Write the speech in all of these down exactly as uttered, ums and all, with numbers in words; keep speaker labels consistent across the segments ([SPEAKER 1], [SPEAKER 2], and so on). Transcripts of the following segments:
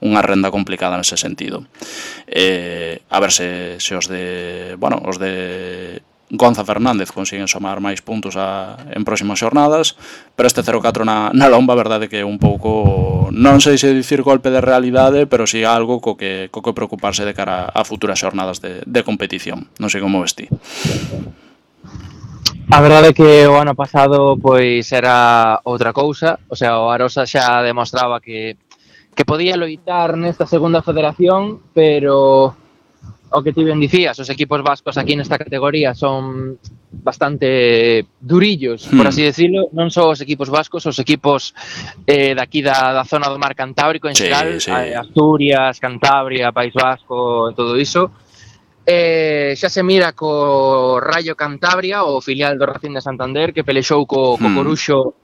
[SPEAKER 1] unha renda complicada nese sentido. Eh, a ver se, se os de, bueno, os de Gonza Fernández consiguen somar máis puntos a, en próximas xornadas, pero este cero catro na, na lomba, a verdade que é un pouco, non sei se dicir golpe de realidade, pero si algo co que, co que preocuparse de cara a futuras xornadas de, de competición. Non sei como ves ti.
[SPEAKER 2] A verdade é que o ano pasado pois era outra cousa, o sea, o Arosa xa demostraba que, que podía loitar nesta segunda federación, pero o que ti ben dicías, os equipos vascos aquí nesta categoría son bastante durillos, por así decirlo, non só os equipos vascos, os equipos eh, daqui da, da zona do mar Cantábrico en
[SPEAKER 1] Sí,
[SPEAKER 2] xeral,
[SPEAKER 1] sí.
[SPEAKER 2] Asturias, Cantabria, País Vasco, todo iso. Eh, xa se mira co Rayo Cantabria, o filial do Racing de Santander, que pelexou co, co Coruxo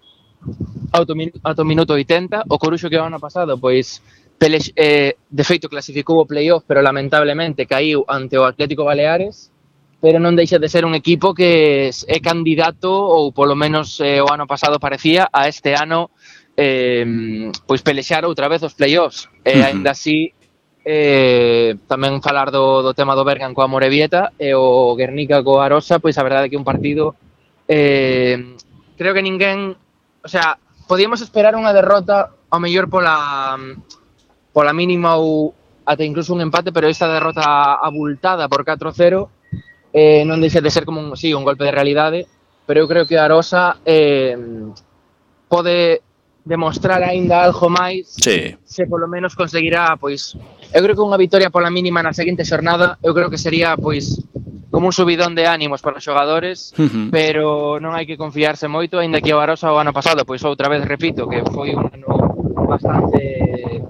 [SPEAKER 2] ata o minuto oitenta. O Coruxo que o ano pasado, pois, Pelex, eh, de feito clasificou o playoff, pero lamentablemente caíu ante o Atlético Baleares, pero non deixa de ser un equipo que é candidato, ou polo menos eh, o ano pasado parecía, a este ano eh, pois pelexar outra vez os playoffs. E uh-huh. Ainda así, eh, tamén falar do, do tema do Bergan coa Morevieta e o Guernica coa Arosa, pois a verdade é que un partido eh, creo que ninguén, o sea, podíamos esperar unha derrota ao mellor pola pola mínima ou ata incluso un empate, pero esta derrota abultada por catro cero eh, non deixa de ser como un, sí, un golpe de realidade, pero eu creo que a Arosa eh, pode demostrar aínda algo máis,
[SPEAKER 1] sí.
[SPEAKER 2] Se polo menos conseguirá, pois, eu creo que unha vitoria pola mínima na seguinte xornada, eu creo que sería, pois, como un subidón de ánimos para os xogadores, uh-huh. Pero non hai que confiarse moito, aínda que o Arosa o ano pasado, pois outra vez repito, que foi un ano bastante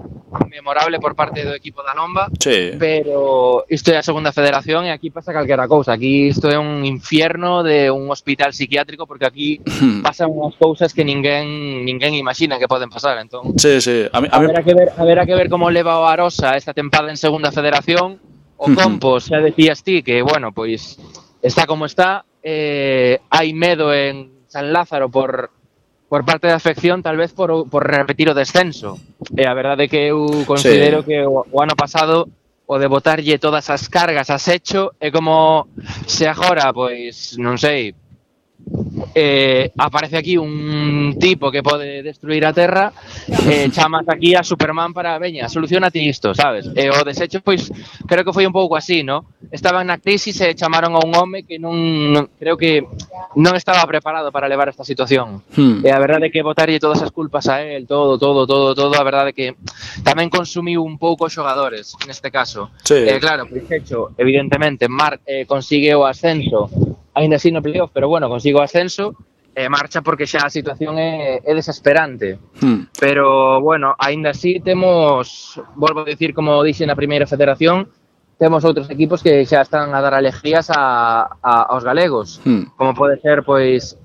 [SPEAKER 2] memorable por parte do equipo da Lomba,
[SPEAKER 1] sí.
[SPEAKER 2] Pero isto é a segunda federación e aquí pasa calquera cousa, aquí isto é un infierno de un hospital psiquiátrico, porque aquí pasan unhas cousas que ninguén ninguén imagina que poden pasar, entón.
[SPEAKER 1] Sí, sí, a mí, a mí...
[SPEAKER 2] Haberá que ver, haberá que ver como leva o Arosa esta tempada en segunda federación. O Compos, xa decías ti que, bueno, pois está como está, eh, hai medo en San Lázaro por por parte da afección, tal vez por, por repetir o descenso. E a verdade é que eu considero sí. Que o, o ano pasado o de botarlle todas as cargas a Secho é como se agora, pois, non sei, eh, aparece aquí un tipo que pode destruir a Terra, eh, chamas aquí a Superman para, veña, solucionate isto, sabes? E o desecho, pois, creo que foi un pouco así, ¿no? Estaban na crisis e chamaron a un home que non, non creo que non estaba preparado para levar esta situación. Hmm. E a verdade é que botarlle todas as culpas a él, todo, todo, todo, todo, a verdade é que tamén consumiu un pouco os xogadores, neste caso.
[SPEAKER 1] Sí.
[SPEAKER 2] Eh, claro, Desecho, evidentemente, Mar eh, consigue o ascenso, ainda así no playoff, pero bueno, consigo o ascenso e eh, marcha porque xa a situación é, é desesperante. Hmm. Pero, bueno, ainda así temos, volvo a dicir, como dixe na primeira federación, temos outros equipos que xa están a dar alegrías a, a, aos galegos, hmm. como pode ser, pois,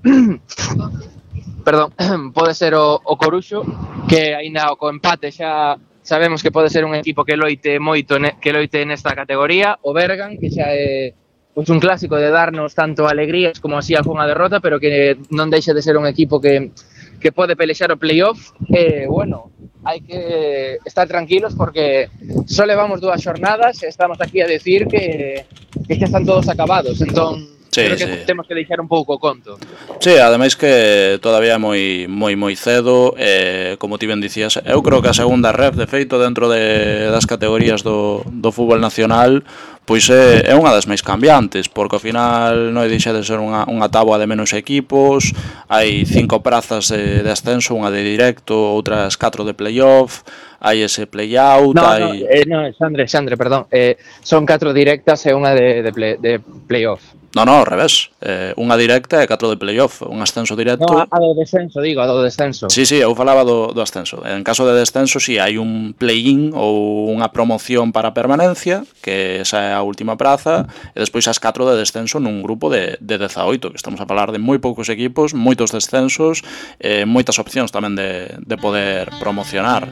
[SPEAKER 2] perdón, pode ser o, o Coruxo, que aínda co empate xa sabemos que pode ser un equipo que loite moito, ne, que loite nesta categoría, o Bergan, que xa é pois un clásico de darnos tanto alegrías como así algunha derrota, pero que non deixa de ser un equipo que, que pode pelexar o playoff. E, bueno, hai que estar tranquilos porque só levamos dúas xornadas e estamos aquí a decir que, que xa están todos acabados, entón sí, creo que sí. Temos que deixar un pouco o conto.
[SPEAKER 1] Sí, ademais que todavía é moi moi moi cedo, eh, como ti ben dicías, eu creo que a segunda ref, de feito, dentro de, das categorías do, do fútbol nacional, pois é, é unha das máis cambiantes, porque ao final non deixa de ser unha, unha táboa de menos equipos, hai cinco prazas de, de ascenso, unha de directo, outras catro de playoff, hai ese play-out,
[SPEAKER 2] no,
[SPEAKER 1] hai...
[SPEAKER 2] No, eh, no, Xandre, Xandre, perdón, eh, son catro directas e unha de, de, play, de playoff.
[SPEAKER 1] No, no, ao revés, eh, unha directa e catro de playoff, un ascenso directo...
[SPEAKER 2] No, a do descenso, digo, a do descenso.
[SPEAKER 1] Sí, sí, eu falaba do, do ascenso. En caso de descenso, sí, hai un play-in ou unha promoción para permanencia, que esa é a última praza, e despois as catro de descenso nun grupo de, de dezaoito, que estamos a falar de moi poucos equipos, moitos descensos, eh, moitas opcións tamén de, de poder promocionar.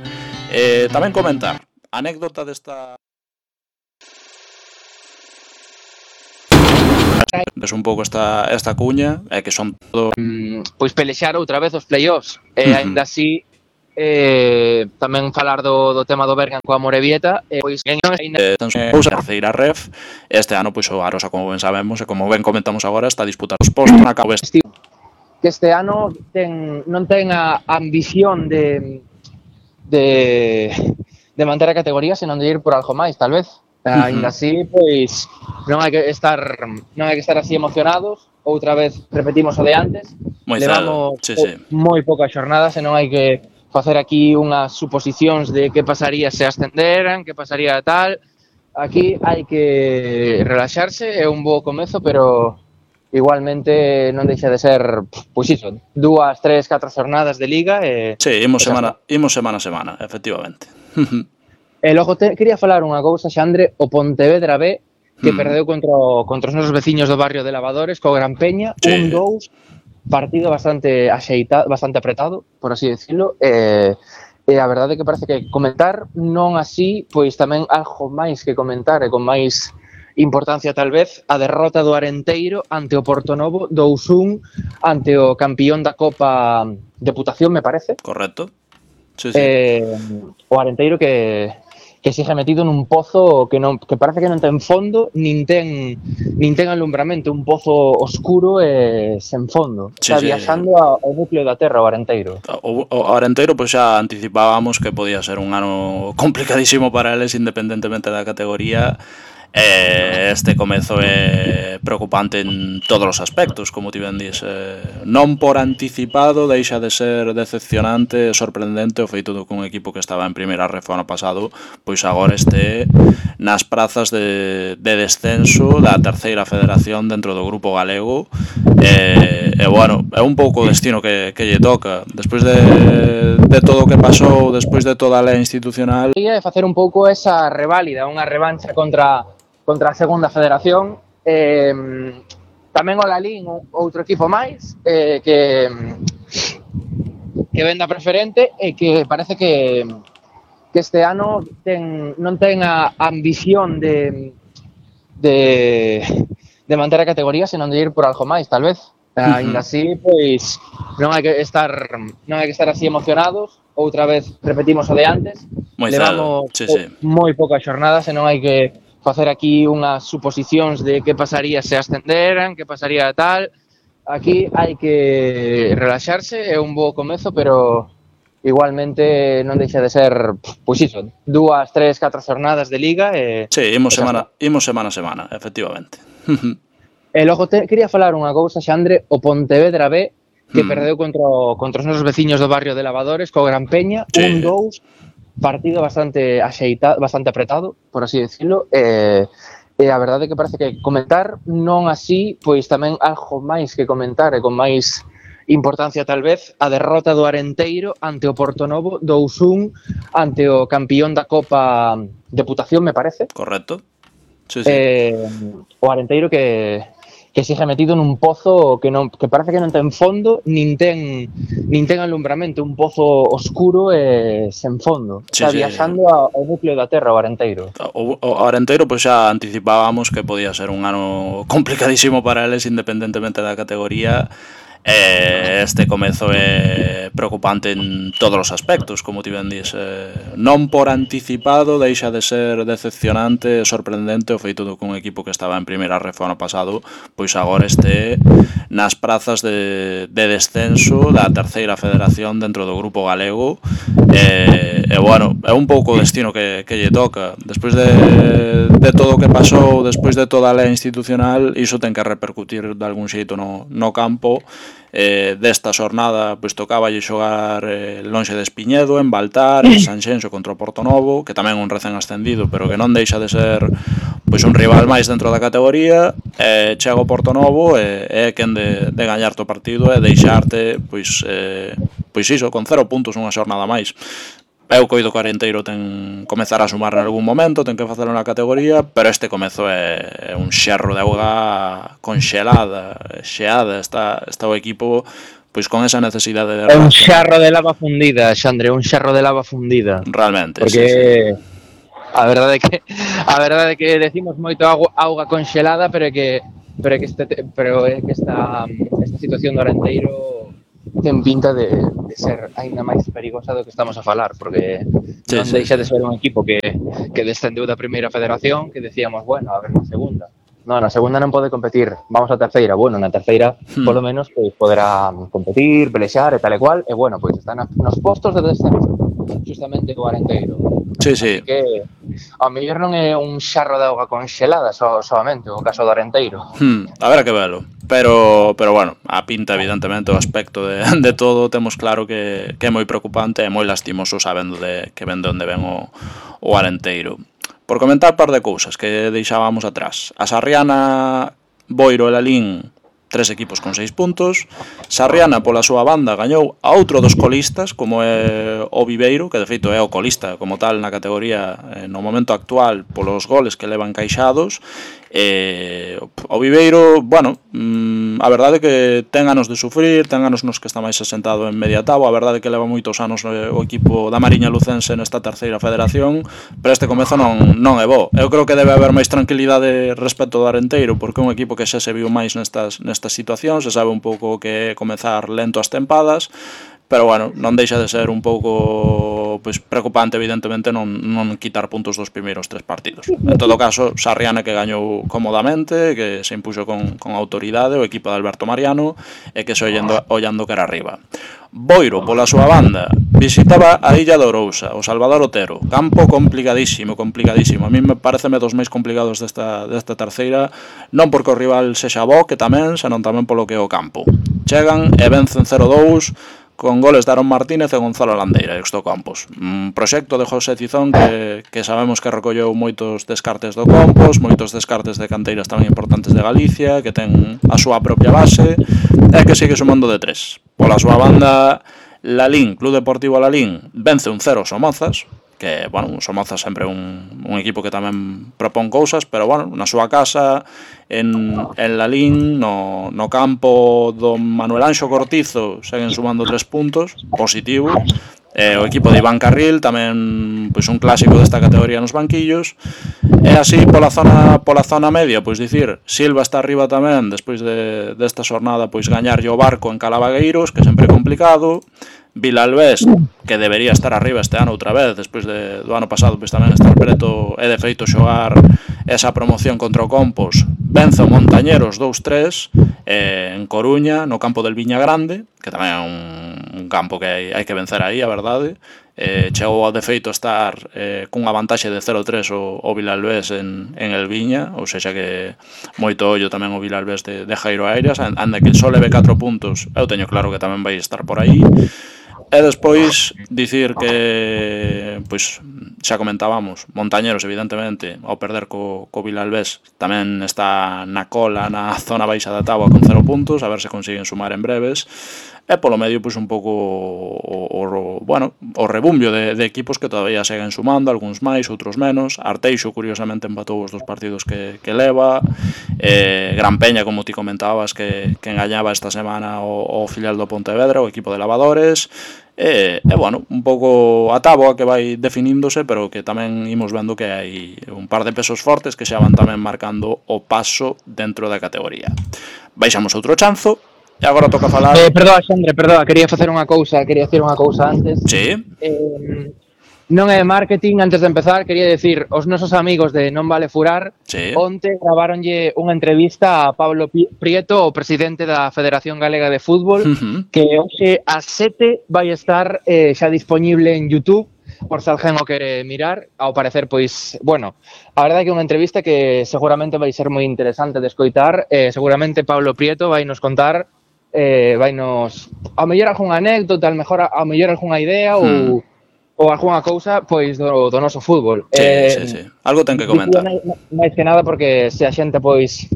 [SPEAKER 1] Eh, tamén comentar, anécdota desta... Ves un pouco esta, esta cuña, é que son todo...
[SPEAKER 2] Mm, pois pelexar outra vez os playoffs, e uh-huh. Ainda así eh, tamén falar do, do tema do Bergan coa Morevieta, e pois en
[SPEAKER 1] eh, a terceira ref. Este ano pois o Arosa, como ben sabemos e como ben comentamos agora, está a disputar os postos na cabo este.
[SPEAKER 2] Que este ano ten, non ten a ambición de, de, de manter a categoría, senón de ir por algo máis, tal vez. Uh-huh. Ainda así, pois non hai que estar non hai que estar así emocionados. Outra vez repetimos o de antes.
[SPEAKER 1] Moi
[SPEAKER 2] Levamos
[SPEAKER 1] sí, sí.
[SPEAKER 2] moi poucas xornadas e non hai que facer aquí unhas suposicións de que pasaría se ascenderan, que pasaría tal. Aquí hai que relaxarse, é un bo comezo, pero igualmente non deixa de ser, pois iso, dúas, tres, catro xornadas de liga e...
[SPEAKER 1] Sí, imos semana, imos semana a semana, efectivamente.
[SPEAKER 2] E logo te, quería falar unha cousa, Xandre, o Pontevedra B, que mm. perdeu contra, contra os nosos veciños do barrio de Lavadores, co Gran Peña, sí. un dous, partido bastante axeitado, bastante apretado, por así decirlo, e, e a verdade é que parece que comentar, non así, pois tamén algo máis que comentar, e con máis importancia tal vez, a derrota do Arenteiro ante o Portonovo, dous un, ante o campión da Copa Deputación, me parece.
[SPEAKER 1] Correcto. Sí, sí.
[SPEAKER 2] Eh, o Arenteiro que, que sigue metido nun pozo que non que parece que non ten fondo, nin ten nin ten alumbramento, un pozo oscuro e sen fondo.
[SPEAKER 1] Sí,
[SPEAKER 2] Está
[SPEAKER 1] sí.
[SPEAKER 2] viaxando ao núcleo da Terra o Arenteiro.
[SPEAKER 1] O, o Arenteiro pois xa anticipábamos que podía ser un ano complicadísimo para eles independentemente da categoría. Eh, este comezo é preocupante en todos os aspectos, como ti ben dis, eh, non por anticipado deixa de ser decepcionante e sorprendente o feito do que un equipo que estaba en primeira ref ano pasado pois agora este nas prazas de, de descenso da terceira federación dentro do grupo galego. E, e bueno, é un pouco o destino que, que lle toca despois de, de todo o que pasou, despois de toda a lei institucional.
[SPEAKER 2] E facer un pouco esa reválida, unha revancha contra contra a segunda federación. Eh, tamén o Lalín, outro equipo máis, eh, que que venda preferente e que parece que que este ano ten, non ten a ambición de de de manter a categoría, senón de ir por algo máis, tal vez. Uh-huh. Ainda así, pois non hai que estar non hai que estar así emocionados. Outra vez repetimos o de antes.
[SPEAKER 1] Moi
[SPEAKER 2] Levamos
[SPEAKER 1] sí, sí.
[SPEAKER 2] moi poucas xornadas e non hai que facer aquí unhas suposicións de que pasaría se ascenderan, que pasaría tal. Aquí hai que relaxarse, é un bo comezo, pero igualmente non deixa de ser, pois iso, dúas, tres, catro xornadas de liga e...
[SPEAKER 1] Sí, imos semana, imos semana a semana, efectivamente.
[SPEAKER 2] E logo te, quería falar unha cousa, Xandre, o Pontevedra B, que mm. perdeu contra, contra os nosos veciños do barrio de Lavadores, co Gran Peña, sí. un dous, partido bastante axeitado, bastante apretado, por así decirlo, e, e a verdade é que parece que comentar, non así, pois tamén algo máis que comentar, e con máis importancia tal vez, a derrota do Arenteiro ante o Portonovo, dous un, ante o campión da Copa Deputación, me parece.
[SPEAKER 1] Correcto. Sí, sí.
[SPEAKER 2] Eh, o Arenteiro que que sigue metido nun pozo que non que parece que non ten fondo, nin ten nin ten alumbramento, un pozo oscuro e sen fondo.
[SPEAKER 1] Sí,
[SPEAKER 2] Está
[SPEAKER 1] sí.
[SPEAKER 2] viaxando ao núcleo da Terra o Arenteiro.
[SPEAKER 1] O, o Arenteiro pois xa anticipábamos que podía ser un ano complicadísimo para eles independentemente da categoría. Eh, este comezo é preocupante en todos os aspectos, como ti ben dis, eh, non por anticipado deixa de ser decepcionante e sorprendente o feito do que un equipo que estaba en primeira ref ano pasado pois agora este nas prazas de, de descenso da terceira federación dentro do grupo galego. E, e bueno, é un pouco o destino que, que lle toca despois de, de todo o que pasou, despois de toda a lei institucional, iso ten que repercutir de algún xeito no, no campo. Eh, desta xornada pois tocaba xogar eh, lonxe de Espiñedo, en Baltar, en Sanxenxo contra o Portonovo, que tamén un recén ascendido, pero que non deixa de ser pois un rival máis dentro da categoría. Eh, chega o Portonovo e é quen de, de gañarte o partido e deixarte pois, eh, pois iso, con cero puntos unha xornada máis. Eu coido que o Arenteiro ten comezar a sumar en algún momento, ten que facelo na categoría, pero este comezo é, é un xerro de auga conxelada, xeada, está, está o equipo pois con esa necesidade de...
[SPEAKER 2] É un xerro de lava fundida, Xandre, un xerro de lava fundida.
[SPEAKER 1] Realmente,
[SPEAKER 2] porque
[SPEAKER 1] sí, sí.
[SPEAKER 2] A verdade é que a verdade é que decimos moito auga, auga conxelada, pero é que pero é que este pero é que esta esta situación do Arenteiro ten pinta de, de ser aínda máis perigosa do que estamos a falar, porque
[SPEAKER 1] Sí,
[SPEAKER 2] non
[SPEAKER 1] sí.
[SPEAKER 2] deixa de ser un equipo que, que descendeu da primeira federación, que decíamos, bueno, a ver na segunda. No, na segunda non pode competir, vamos á terceira. Bueno, na terceira,
[SPEAKER 1] Hmm.
[SPEAKER 2] polo menos, pois poderá competir, pelexar e tal e cual, e bueno, pois está na, nos postos de descenso, justamente o Arenteiro.
[SPEAKER 1] Sí, sí.
[SPEAKER 2] Así que, ao mellor non é un xarro de auga conxelada so, solamente o caso do Arenteiro.
[SPEAKER 1] Hmm, habrá que verlo. Pero, pero bueno, a pinta, evidentemente, o aspecto de, de todo, temos claro que, que é moi preocupante e moi lastimoso sabendo de que ven de onde ven o, o Arenteiro. Por comentar par de cousas que deixábamos atrás. A Sarriana, Boiro e Lalín, tres equipos con seis puntos. Sarriana, pola súa banda, gañou a outro dos colistas, como é o Viveiro, que de feito é o colista como tal na categoría eh, no momento actual polos goles que levan encaixados. E o Viveiro, bueno, mm, a verdade é que ten anos de sufrir, ten anos nos que está máis asentado en media táboa. A verdade é que leva moitos anos o equipo da Mariña Lucense nesta terceira federación, pero este comezo non, non é bo. Eu creo que debe haber máis tranquilidade respecto do Arenteiro, porque é un equipo que xa se viu máis nestas, nestas situacións, se sabe un pouco que é comezar lento as tempadas, pero bueno, non deixa de ser un pouco pois, preocupante, evidentemente, non, non quitar puntos dos primeiros tres partidos. En todo caso, Sarriana que gañou cómodamente, que se impuxo con, con autoridade o equipo de Alberto Mariano e que se ollando, ollando que era arriba. Boiro, pola súa banda, visitaba a Illa de Ourousa, o Salvador Otero. Campo complicadísimo, complicadísimo. A mí me pareceme dos máis complicados desta, desta terceira, non porque o rival sexa bo, que tamén, senón tamén polo que é o campo. Chegan e vencen cero dous, con goles de Aaron Martínez e Gonzalo Landeira, Exto Campos. Un proxecto de José Cizón que, que sabemos que recolleu moitos descartes do Campos, moitos descartes de canteiras tamén importantes de Galicia, que ten a súa propia base, e que sigue sumando de tres. Pola súa banda, Lalín, Club Deportivo Lalín, vence un cero Somozas, que, bueno, un Somozas sempre un, un equipo que tamén propón cousas, pero, bueno, na súa casa, en, en Lalín, no, no campo do Manuel Anxo Cortizo, seguen sumando tres puntos, positivo. Eh, o equipo de Iván Carril, tamén pois un clásico desta categoría nos banquillos. E así, pola zona pola zona media, pois dicir, Silva está arriba tamén, despois de, desta xornada, pois gañarlle o Barco en Calavagueiros, que sempre é complicado. Vilalbés, que debería estar arriba este ano outra vez, despois de, do ano pasado pois tamén estar preto e de feito xogar esa promoción contra o Campos. Vence o Montañeros dous tres eh, en Coruña, no campo del Viña Grande, que tamén é un, un campo que hai, hai que vencer aí, a verdade. Eh, chegou ao de feito a estar eh, cunha vantaxe de cero tres o, o Vilalbés en, en el Viña, ou seja que moito ollo tamén o Vilalbés de, de Jairo Aires, anda que só leve catro puntos, eu teño claro que tamén vai estar por aí. E despois dicir que, pois, xa comentábamos, Montañeros, evidentemente, ao perder co, co Vilalbés, tamén está na cola, na zona baixa da táboa con cero puntos, a ver se consiguen sumar en breves. E polo medio, pois, un pouco o, o, bueno, o rebumbio de, de equipos que todavía seguen sumando, algúns máis, outros menos. Arteixo, curiosamente, empatou os dos partidos que, que leva. Eh, Gran Peña, como ti comentabas, que, que engañaba esta semana o, o filial do Pontevedra, o equipo de lavadores. E, e bueno, un pouco a táboa que vai definíndose, pero que tamén imos vendo que hai un par de pesos fortes que xa van tamén marcando o paso dentro da categoría. Baixamos outro chanzo. E agora toca falar...
[SPEAKER 2] Eh, perdoa, Xandre, perdoa, quería facer unha cousa, quería decir unha cousa antes.
[SPEAKER 1] Sí.
[SPEAKER 2] Eh, non é marketing, antes de empezar, quería decir, os nosos amigos de Non Vale Furar,
[SPEAKER 1] Sí.
[SPEAKER 2] onte gravaronlle unha entrevista a Pablo Prieto, o presidente da Federación Galega de Fútbol,
[SPEAKER 1] Uh-huh.
[SPEAKER 2] que hoxe ás sete vai estar eh, xa disponible en YouTube, por se alguén o quere mirar. Ao parecer, pois, bueno, a verdade é que é unha entrevista que seguramente vai ser moi interesante de escoitar. Eh, seguramente Pablo Prieto vai nos contar eh, vai nos ao mellor algunha anécdota, ao mellor, ao mellor algunha idea ou,
[SPEAKER 1] Hmm.
[SPEAKER 2] ou algunha cousa pois do, do noso fútbol.
[SPEAKER 1] Sí,
[SPEAKER 2] eh,
[SPEAKER 1] sí, sí. Algo ten que comentar.
[SPEAKER 2] máis, máis que nada porque se a xente pois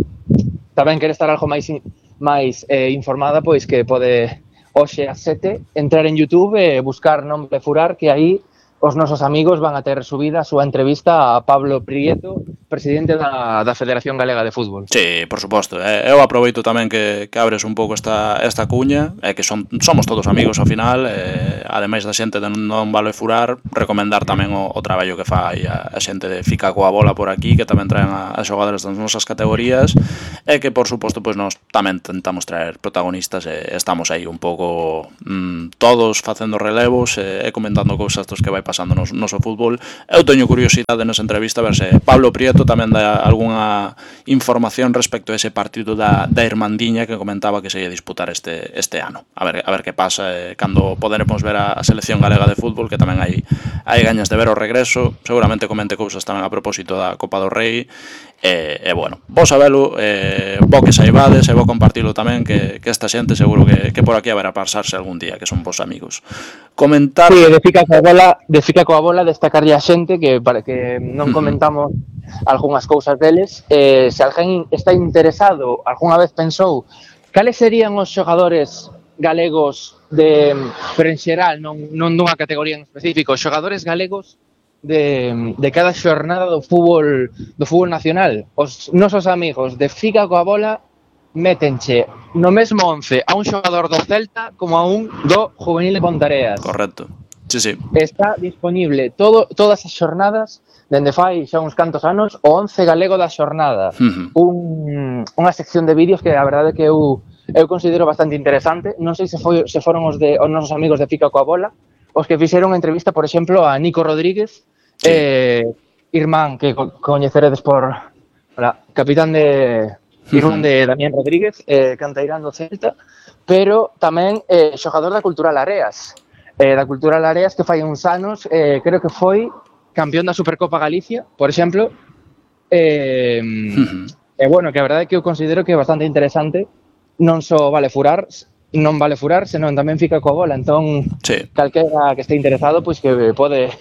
[SPEAKER 2] tamén quere estar algo máis máis eh, informada, pois que pode hoxe ás sete entrar en YouTube e buscar Non Vale Furar, que aí os nosos amigos van a ter subida a súa entrevista a Pablo Prieto, presidente da, da Federación Galega de Fútbol.
[SPEAKER 1] Sí, por suposto. Eh, eu aproveito tamén que, que abres un pouco esta, esta cuña, e eh, que son, somos todos amigos ao final, eh, ademais da xente de Non Vale Furar, recomendar tamén o, o traballo que fai a, a xente de Fica coa Bola por aquí, que tamén traen a, a xogadores das nosas categorías, e que, por suposto, pois nos tamén tentamos traer protagonistas e estamos aí un pouco mmm, todos facendo relevos e, e comentando cousas dos que vai pasando no noso fútbol. Eu teño curiosidade nesa entrevista a ver se Pablo Prieto tamén dá algunha información respecto a ese partido da, da Irmandiña que comentaba que se ia disputar este, este ano. A ver, a ver que pasa eh, cando poderemos ver a, a selección galega de fútbol, que tamén hai, hai gañas de ver o regreso. Seguramente comente cousas tamén a propósito da Copa do Rei. E, e bueno, vos sabelo, eh, vos que saibades e vos compartilo tamén, que, que esta xente seguro que, que por aquí haberá pasarse algún día, que son vos amigos. Comentar...
[SPEAKER 2] Sí, de fica coa bola, de fica coa bola destacarlle a xente que para que non comentamos algunhas cousas deles, eh, se alguén está interesado, algunha vez pensou cales serían os xogadores galegos de, pero en xeral, non, non dunha categoría en específico, xogadores galegos de, de cada xornada do fútbol do fútbol nacional. Os nosos amigos de Fica coa bola métenche no mesmo once a un xogador do Celta como a un do Juvenil de Pontareas.
[SPEAKER 1] Correcto. Sí, sí.
[SPEAKER 2] Está disponible todo, todas as xornadas dende fai xa uns cantos anos o once galego da xornada. Uh-huh. Un, unha sección de vídeos que a verdade que eu eu considero bastante interesante. Non sei se foi se foron os de os nosos amigos de Fica coa bola os que fixeron unha entrevista, por exemplo, a Nico Rodríguez, sí. eh, irmán que co coñeceredes por hola, capitán de irmán de Damián Rodríguez, eh, canteirán do Celta, pero tamén eh, xogador da Cultural Areas. Eh, da Cultural Areas que fai uns anos, eh, creo que foi campeón da Supercopa Galicia, por exemplo. Eh, uh-huh. E bueno, que a verdade é que eu considero que é bastante interesante, non só vale furar, non vale furar, senón tamén fica coa bola. Entón, sí. Calquera que este interesado, pois que pode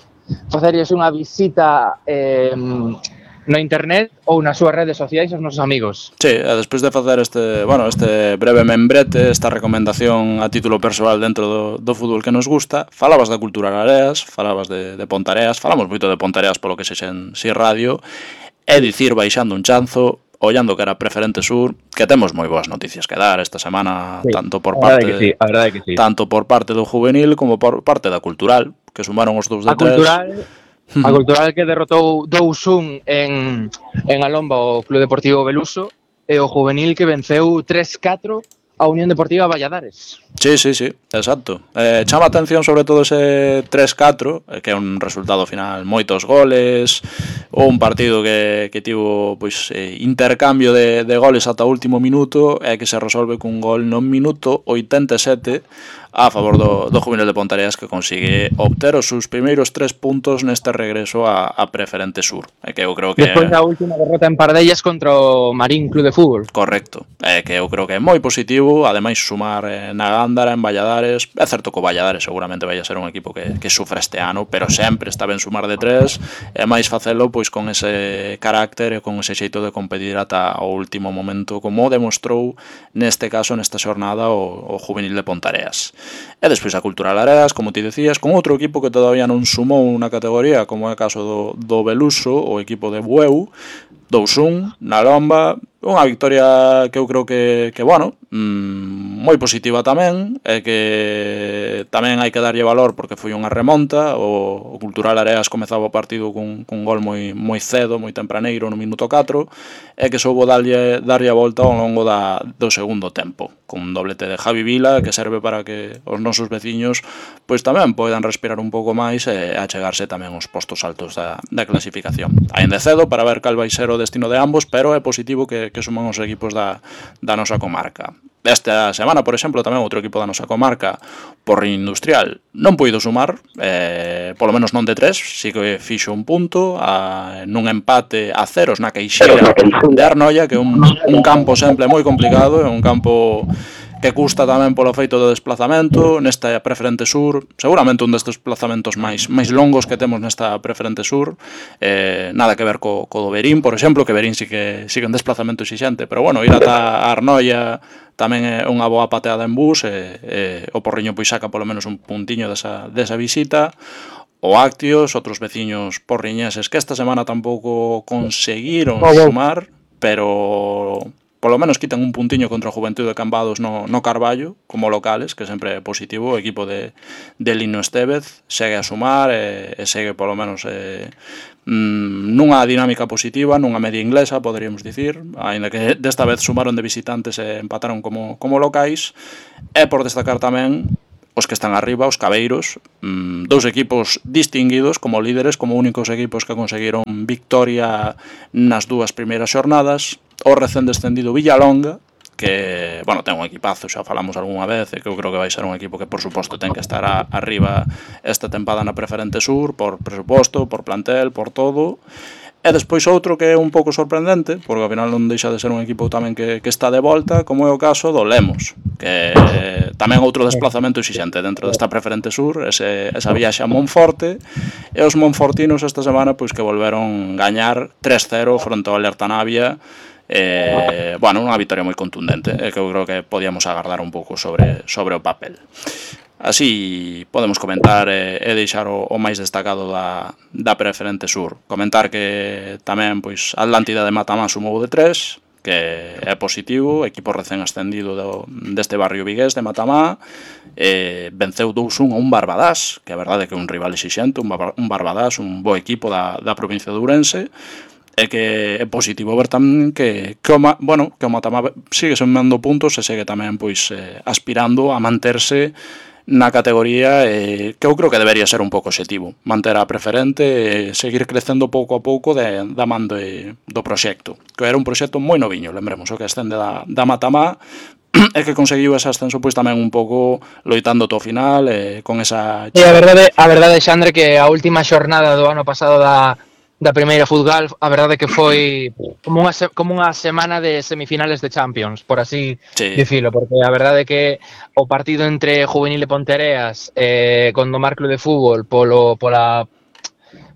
[SPEAKER 2] facerlles unha visita eh, no internet ou nas súas redes sociais aos nosos amigos.
[SPEAKER 1] Sí, e despois de facer este, bueno, este breve membrete, esta recomendación a título persoal dentro do, do fútbol que nos gusta, falabas da Cultural Areas, falabas de, de Pontareas, falamos moito de Pontareas polo que se xen si radio, é dicir, baixando un chanzo, ollando que era Preferente Sur, que temos moi boas noticias que dar esta semana, sí, tanto por parte
[SPEAKER 2] que sí, a verdade que sí.
[SPEAKER 1] tanto por parte do juvenil como por parte da Cultural, que sumaron os dous de
[SPEAKER 2] a
[SPEAKER 1] tres.
[SPEAKER 2] Cultural, a Cultural que derrotou dous un en, en Alomba o Club Deportivo Beluso, e o juvenil que venceu tres catro a Unión Deportiva Valladares.
[SPEAKER 1] Sí, sí, sí, exacto. Eh, chama a atención sobre todo ese tres catro, que é un resultado final moitos goles, ou un partido que, que tivo pois, eh, intercambio de, de goles ata o último minuto, e que se resolve cun gol no minuto oitenta e sete a favor do, do Juvenil de Pontareas, que consigue obter os seus primeiros tres puntos neste regreso a, a Preferente Sur. E que eu creo que
[SPEAKER 2] despois da última derrota en Pardellas contra o Marín Club de Fútbol.
[SPEAKER 1] Correcto. É que eu creo que é moi positivo, ademais sumar eh, na Gándara, en Valladares. É certo que o Valladares seguramente vai a ser un equipo que, que sufra este ano, pero sempre está ben sumar de tres, e máis facelo pois con ese carácter e con ese xeito de competir ata o último momento, como demostrou neste caso, nesta xornada, o, o Juvenil de Pontareas. E despois a Cultural Areas, como ti decías, con outro equipo que todavía non sumou unha categoría, como é o caso do, do Beluso, o equipo de Bueu, dous un na Lomba, unha victoria que eu creo que, que bueno, mmm, moi positiva tamén, e que tamén hai que darlle valor porque foi unha remonta. O, o Cultural Areas comezaba o partido cun, cun gol moi, moi cedo, moi tempraneiro, no minuto catro, e que soubo darlle, darlle a volta ao longo da, do segundo tempo, con un doblete de Javi Vila, que serve para que os nosos veciños pois tamén poidan respirar un pouco máis e achegarse tamén aos postos altos da, da clasificación. Ainda cedo para ver cal vai ser o destino de ambos, pero é positivo que, que suman os equipos da, da nosa comarca. Esta semana, por exemplo, tamén outro equipo da nosa comarca, Porriño Industrial, non puido sumar, eh, polo menos non de tres, si que fixo un punto, a, nun empate a ceros na Queixeira de Arnoia, que é un, un campo sempre moi complicado, é un campo que custa tamén polo feito do desplazamento nesta Preferente Sur, seguramente un destes desplazamentos máis máis longos que temos nesta Preferente Sur, eh, nada que ver co, co do Verín, por exemplo, que Verín sí que sigue un desplazamento exixente, pero bueno, ir ata Arnoia tamén é unha boa pateada en bus, e, e o Porriño pois saca polo menos un puntiño desa, desa visita. O Actios, outros veciños porriñeses que esta semana tampouco conseguiron sumar, pero polo menos quitan un puntiño contra o Juventude de Cambados no, no Carballo, como locales, que sempre é positivo. O equipo de, de Lino Estevez segue a sumar e, e segue polo menos eh, mm, nunha dinámica positiva, nunha media inglesa, poderíamos dicir, aínda que desta vez sumaron de visitantes e empataron como, como locais. E por destacar tamén os que están arriba, os cabeiros, mmm, dous equipos distinguidos como líderes, como únicos equipos que conseguiron victoria nas dúas primeiras xornadas. O recén descendido Villalonga, que, bueno, ten un equipazo, xa falamos algunha vez, e que eu creo que vai ser un equipo que, por suposto, ten que estar a, arriba esta tempada na Preferente Sur, por presuposto, por plantel, por todo. E despois outro que é un pouco sorprendente, porque ao final non deixa de ser un equipo tamén que, que está de volta, como é o caso do Lemos, que eh, tamén outro desplazamento exixente dentro desta Preferente Sur, ese, esa viaxe a Monforte, e os monfortinos esta semana pois que volveron gañar tres cero fronte ao Alerta Navia. Eh, bueno, unha victoria moi contundente, eh, que eu creo que podíamos agardar un pouco sobre, sobre o papel. Así podemos comentar e, e deixar o, o máis destacado da, da Preferente Sur. Comentar que tamén pois Atlántida de Matamá sumou de tres, que é positivo, equipo recén ascendido do, deste barrio vigués de Matamá, eh, venceu dous un a un Barbadás, que a verdade é que é un rival exixente, un, un Barbadás, un bo equipo da, da provincia de Ourense, e que é positivo ver tamén que, que, o, bueno, que o Matamá sigue sumando puntos e segue tamén pois eh, aspirando a manterse na categoría, eh, que eu creo que debería ser un pouco objetivo, manter a Preferente e seguir crecendo pouco a pouco de, da man de, do proxecto, que era un proxecto moi noviño, lembremos, o que ascende da, da Matamá, e que conseguiu ese ascenso pois tamén un pouco loitando to final, eh, con esa...
[SPEAKER 2] E a verdade, a verdade, Xandre, que a última xornada do ano pasado da da primeira Futgal, a verdade que foi como unha, como unha semana de semifinales de Champions, por así sí. dicilo, porque a verdade que o partido entre Juvenil e Pontereas eh, con Domar Club de Fútbol polo, pola,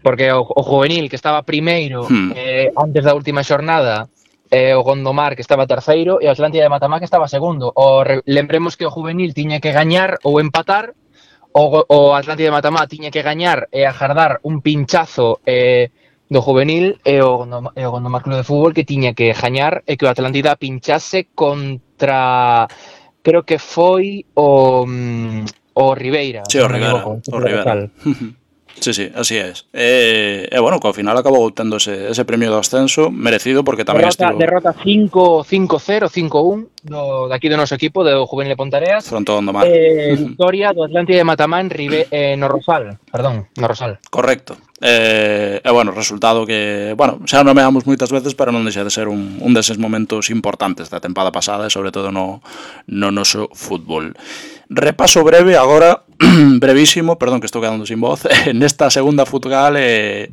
[SPEAKER 2] porque o, o Juvenil que estaba primeiro hmm. eh, antes da última xornada, eh, o Gondomar que estaba terceiro e o Atlántida de Matamá que estaba segundo. O, lembremos que o Juvenil tiña que gañar ou empatar, o, o Atlántida de Matamá tiña que gañar e agardar un pinchazo eh, do Juvenil e o, e o Gondomar Club de Fútbol que tiña que gañar e que o Atlántida pinchase contra, creo que foi o, o Ribeira.
[SPEAKER 1] Sí, o Ribeira, o Ribeira. Sí, sí, así es. E, e bueno, que ao final acabou tendo ese, ese premio do ascenso merecido porque tamén
[SPEAKER 2] derrota,
[SPEAKER 1] estivo...
[SPEAKER 2] Derrota cinco cero, cinco un do, daqui do noso equipo, do Juvenil de Pontereas.
[SPEAKER 1] Fronte ao Gondomar.
[SPEAKER 2] Eh, victoria do Atlántida de Matamá en Ribe, eh, no Rosal, perdón, no Rosal.
[SPEAKER 1] Correcto. E, e bueno, resultado que, bueno, xa nomeamos moitas veces, pero non deixa de ser un, un deses momentos importantes da tempada pasada e sobre todo no, no noso fútbol. Repaso breve agora, brevísimo, perdón que estou quedando sin voz, nesta segunda Futgal eh,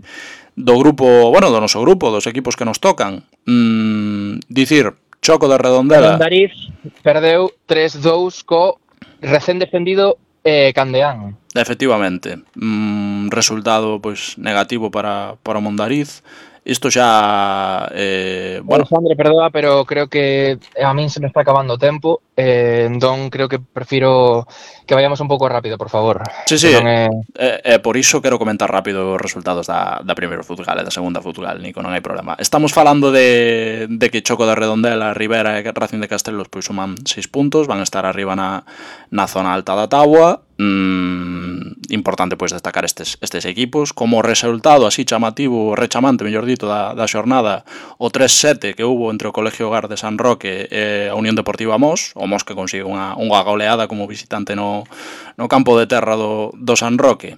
[SPEAKER 1] do grupo, bueno, do noso grupo, dos equipos que nos tocan. Mm, dicir, Choco de Redondela.
[SPEAKER 2] Mondariz perdeu tres dous co recén defendido eh, Candeán.
[SPEAKER 1] Efectivamente, mm, resultado pois negativo para, para Mondariz. Isto xa... Eh, bueno.
[SPEAKER 2] Alexandre, perdoa, pero creo que a min se me está acabando o tempo, eh, entón creo que prefiro que vayamos un pouco rápido, por favor.
[SPEAKER 1] Sí, sí, é... eh, eh, por iso quero comentar rápido os resultados da, da primeira Futgal e da segunda Futgal, Nico, non hai problema. Estamos falando de, de que Choco de Redondela, Ribera e Racing de Castelos pois suman seis puntos, van a estar arriba na, na zona alta da táboa. Mm, importante pois destacar estes, estes equipos como resultado así chamativo, rechamante, mellor dito, da, da xornada, o tres sete que hubo entre o Colegio Hogar de San Roque e a Unión Deportiva Mos, o Mos que consigue unha, unha goleada como visitante no, no campo de terra do, do San Roque.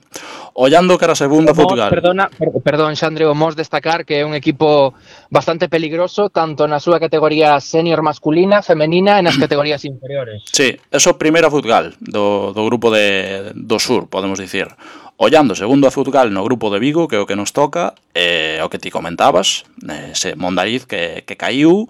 [SPEAKER 1] Ollando que era a segunda Futgal.
[SPEAKER 2] Perdona, per, perdón, Xandre, o Mos destacar que é un equipo bastante peligroso tanto na súa categoría senior masculina, femenina e nas categorías inferiores.
[SPEAKER 1] Sí, eso primeira Futgal do, do grupo de do sur, podemos dicir. Ollando segundo a Futgal no grupo de Vigo, que é o que nos toca, eh, o que ti comentabas, ese Mondariz que, que caiu,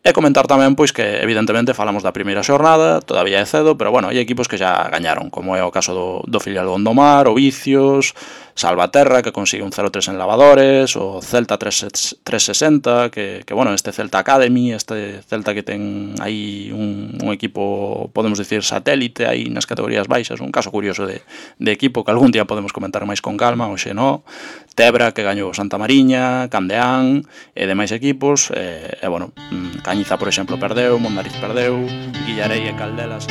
[SPEAKER 1] e comentar tamén pois que evidentemente falamos da primeira xornada, todavía é cedo, pero bueno, hai equipos que xa gañaron, como é o caso do, do filial Gondomar, o Vicios, Salvaterra, que consigue un cero tres en lavadores, o Celta tres sesenta, que, que bueno, este Celta Academy, este Celta que ten aí un, un equipo, podemos dicir, satélite aí nas categorías baixas, un caso curioso de, de equipo que algún día podemos comentar máis con calma, o Xenó, Tebra, que gañou Santa Mariña, Candeán, e demais equipos, e, e bueno, Cañiza, por exemplo, perdeu, Mondariz perdeu, Guillarei e Caldelas...